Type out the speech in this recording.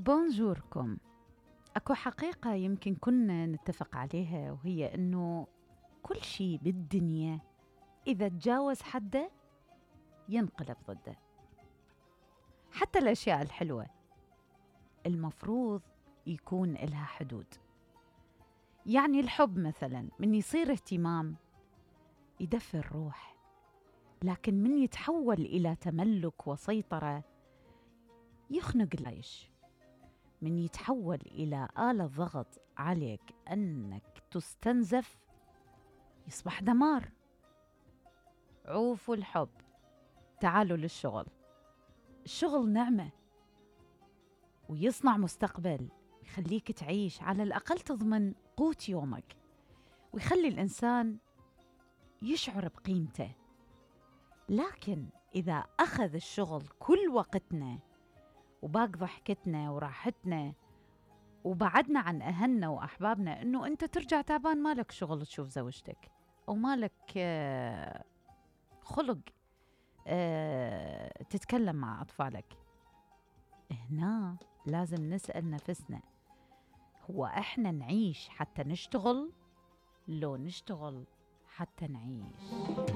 بونجوركم. أكو حقيقة يمكن كنا نتفق عليها، وهي أنه كل شيء بالدنيا إذا تجاوز حده ينقلب ضده. حتى الأشياء الحلوة المفروض يكون إلها حدود. يعني الحب مثلا من يصير اهتمام يدفي الروح، لكن من يتحول إلى تملك وسيطرة يخنق العيش. من يتحول إلى آلة ضغط عليك أنك تستنزف يصبح دمار. عوفوا الحب، تعالوا للشغل. الشغل نعمة ويصنع مستقبل، يخليك تعيش، على الأقل تضمن قوت يومك، ويخلي الإنسان يشعر بقيمته. لكن إذا أخذ الشغل كل وقتنا وباق ضحكتنا وراحتنا، وبعدنا عن أهلنا وأحبابنا، إنه أنت ترجع تعبان مالك شغل تشوف زوجتك، أو مالك خلق تتكلم مع أطفالك. هنا لازم نسأل نفسنا، هو إحنا نعيش حتى نشتغل؟ لو نشتغل حتى نعيش؟